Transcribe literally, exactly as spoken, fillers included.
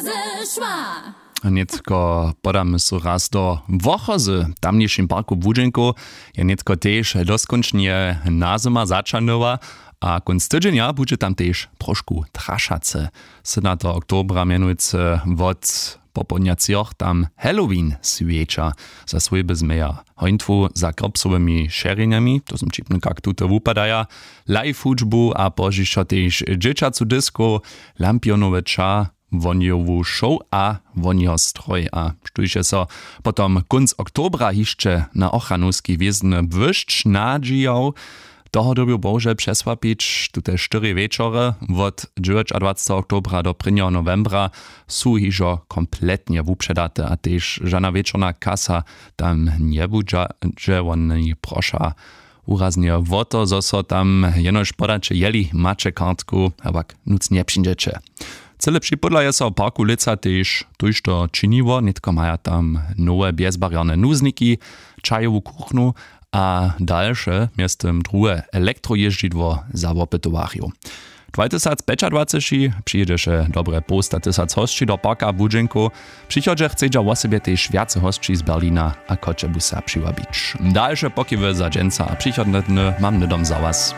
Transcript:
Zešła. Nětko podamy so raz do Wochozy. W tamnišim parku Błudźenkow je nětko tež doskónčnje na zymar začanyła, a kónc tydźenja budźe tam tež trošku trašace. Synateho oktobra mjenujcy wot popołdnja třoch tam Halloween swjeća. Za swójby změja hońtwu za krpsowymi šerjenjami, to są ćipny kak tute wupadaja, live hudźbu a pozdźišo tež dźěćacu diskow, lampionowy ča, wonjowu šow a wonjo stroj. A štóž je so potom kónc oktobra hišće na ochranowski wězny błyšć nadźijał, toho dyrbju bohužel přesłapić. Tute štyri wječory wot dźewjećadwaceteho oktobra do prěnjeho nowembra su hižo kompletnje wupředate a tež žana wječorna kasa tam njebudźa, dźe woni proša wuraznje wo to, zo so tam jenož podaće, jeli maće kartku, a pak nutř njepřińdźeće. Cyle připodla je so w parku lětsa tež tójšto činiło. Nětko maja tam nowe bjezbarjerne nuzniki, čajowu kuchnu a dalše, mjeztym druhe elektrojězdźidło za wopytowarjow. Dwatysacpjećadwaceći přijědźeše dobre połsta tysac hosći do parka Błudźenkow. Přichodźe chcedźa wosebje tež wjace hosći z Berlina a Choćebuza přiwabić. Dalše pokiwy za dźensa a přichodne dny mam hnydom za was.